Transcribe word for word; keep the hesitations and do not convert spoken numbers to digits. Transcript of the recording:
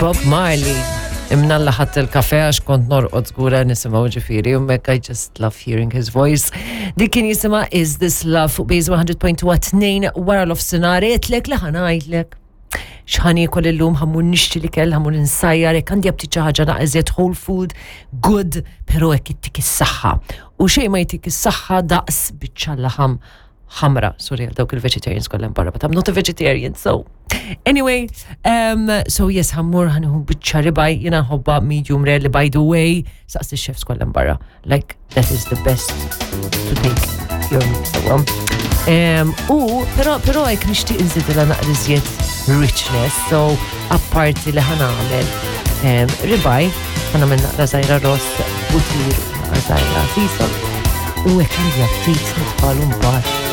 Bob Marley. Imnalla ħadt il-kafe għax kont norqod żgura nisimgħu ġifieri, u hekk I just love hearing his voice. Dik kien jisimha Is This Love fuq Base one hundred point two għat-tnejn wara nofsinhar. Għedtlek li ħa ngħidlek x'ħa niekol illum. Ħa mmur nixtri l-ikel, ħa mmur insajjar, hekk għandi aptit xi ħaġa naqra whole food, good, pero hekk ittik is-saħħa. U xejn ma jtik is-saħħa daqs biċċa laħam ħamra. Sorry għal dawk il-vegetarians kollha barra, but I'm not a vegetarian, so. Anyway, um, so yes, ħa mmur ħa nieħu biċċa ribeye, jiena nħobbha medium rare li, by the way, saqsi chefs kollha barra. Like, that is the best to take your meat, so. Um, u, pero, pero hekk nixtieq nżidilha naqra iżjed richness, so apparti li ħa nagħmel um, ribeye, ħa nagħmel naqra żgħira ross, butir, naqra żgħira sea salt, u hekk għandi aptit nitfagħlu mbagħad.